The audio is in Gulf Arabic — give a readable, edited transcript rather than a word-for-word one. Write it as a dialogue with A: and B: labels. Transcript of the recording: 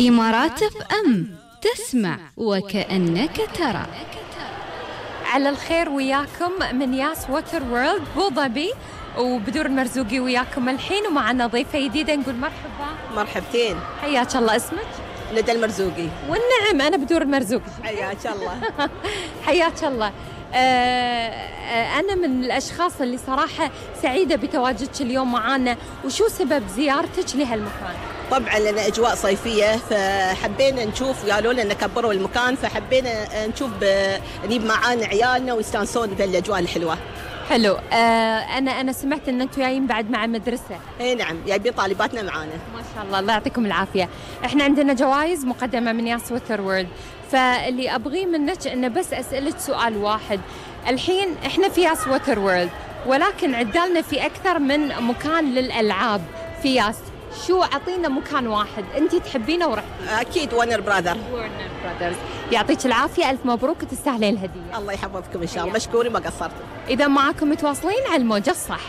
A: إمارات اف ام، تسمع وكأنك ترى.
B: على الخير وياكم من ياس ووتر وورلد بو ظبي، وبدور المرزوقي وياكم الحين، ومعنا ضيفة جديدة نقول مرحبا.
C: مرحبتين.
B: حياك الله. اسمك؟
C: ندى المرزوقي.
B: والنعم أنا بدور المرزوقي.
C: حياك الله.
B: حياك الله. أنا من الأشخاص اللي صراحة سعيدة بتواجدك اليوم معانا. وشو سبب زيارتك لهالمكان؟
C: طبعا لنا أجواء صيفية، فحبينا نشوف، قالوا لنا كبروا المكان، فحبينا نشوف نجيب معانا عيالنا ويستانسون بالأجواء الحلوة.
B: حلو. أنا سمعت إن أنتوا جايين بعد مع مدرسة.
C: إيه نعم، جايبين طالباتنا معانا.
B: ما شاء الله، الله يعطيكم العافية. إحنا عندنا جوائز مقدمة من ياس ووتر وورلد، فاللي أبغيه منك إنه بس أسألك سؤال واحد. الحين إحنا في ياس ووتر وورلد، ولكن عدالنا في أكثر من مكان للألعاب في ياس. شو أعطينا مكان واحد أنت تحبينه ورحتي؟
C: أكيد ورنر براذر.
B: ورنر براذرز. يعطيك العافية، ألف مبروك، تستاهلين الهدية.
C: الله يحفظكم إن شاء الله، مشكورين ما قصرتوا.
B: إذا معاكم متواصلين على الموجة الصح.